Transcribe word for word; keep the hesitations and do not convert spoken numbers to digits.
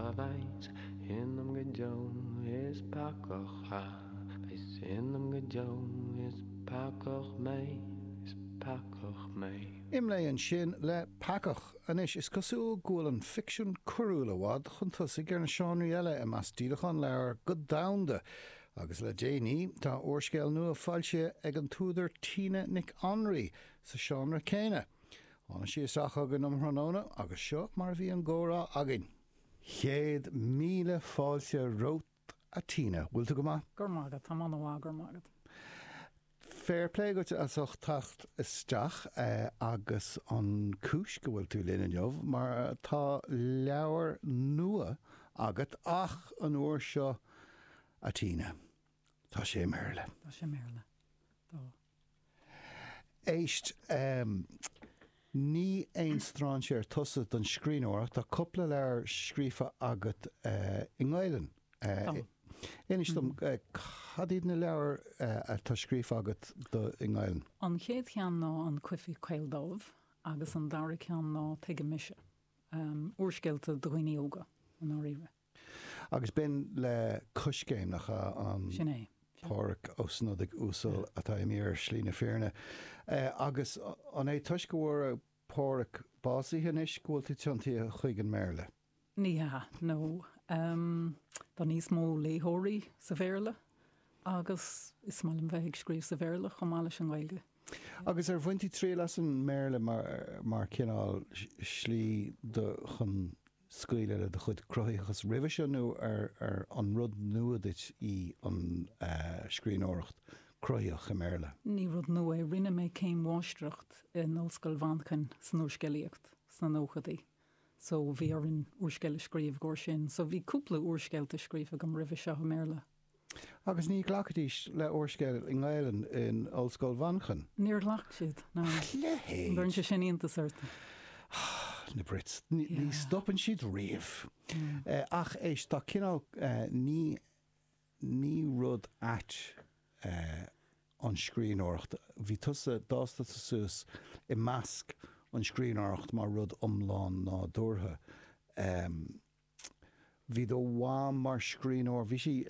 a bheas ionam go deo is peacach a bheas ionam go deo is peacach mé is peacach mé. Imlé ansin le Peacach anois is cosúil go bhfuil an ficsean coiriúil i bhfad chun tosaigh ar na seánraí eile i measc díolachán leabhar go domhanda. Agus le déanaí tá úrscéal nua foilsithe ag an t-údar Tina Nic Anraí sa seánra céanna. Tháinig sí isteach chugainn um thráthnóna agus seo mar a bhí an comhrá againn. Céad míle fáilte romhat a Tina, bhfuil tú go maith? Gur mágad tá man gur mágad. Fair play duit as ucht teacht isteach eh, agus an cúis go bhfuil tú linn inniu mar tá leabhar nua agat ach an uair seo a Tina. Tá sé i mBéarla. Tá sé i mBéarla. Tá. Éist um, ní aon strainséir tusa don scríbhneoireacht tá cúpla leabhar scríofa agat uh, i nGaeilge. Uh, Inis dom uh, cad iad na leabhair uh, atá scríofa agat do i nGaeilge. An chéad cheann ná an Coifí Caoldómh agus an dara ceann ná Tuige Mise. Um, úrscéalta do dhaoine óga an áirithe. Agus b'in le Coiscéim nach an Sin é. Pádraig Ó Snodaigh uasal atá imithe ar shlí na fírinne. Uh, agus an é toisc go bhfuil Pádraig básaithe anois go bhfuil tú tiontaithe chuig an mBéarla. Ní hea nó um, tá níos mó léitheoirí sa Bhéarla agus is maith liom bheith ag scríobh sa Bhéarla chomh maith leis an Ghaeilge. Agus ar bhain tú triail as an mBéarla mar, mar cineál slí do chun scaoileadh le do chuid cruthaitheachas roimhe seo nó ar, ar an rud nua duit í an uh, scríbhneoireacht cruthaitheach i mBéarla. Ní rud nua é rinne mé céim mháistreacht in Ollscoil Mhanchain san úrscéalaíocht sna nóchaidí. So bhí orainn úrscéal a scríobh go sin, so bhí cúpla úrscéalta scríofa agam roimhe seo i mBéarla. Agus ní ghlacfaidís le úrscéal i nGaeilge in Ollscoil Mhanchain. Níor ghlac siad ná Lehéid Bhronn sé sin iontas ort. na Brits ní Yeah. stopann siad riamh. Eh, ach éist tá cineál eh, ní ní rud ait eh, an scríbhneoireacht. Bhí tusa d'fhás tusa suas i measc an scríbhneoireacht mar rud iomlán nádúrtha. Um, bhí do mham mar scríbhneoir, bhí sí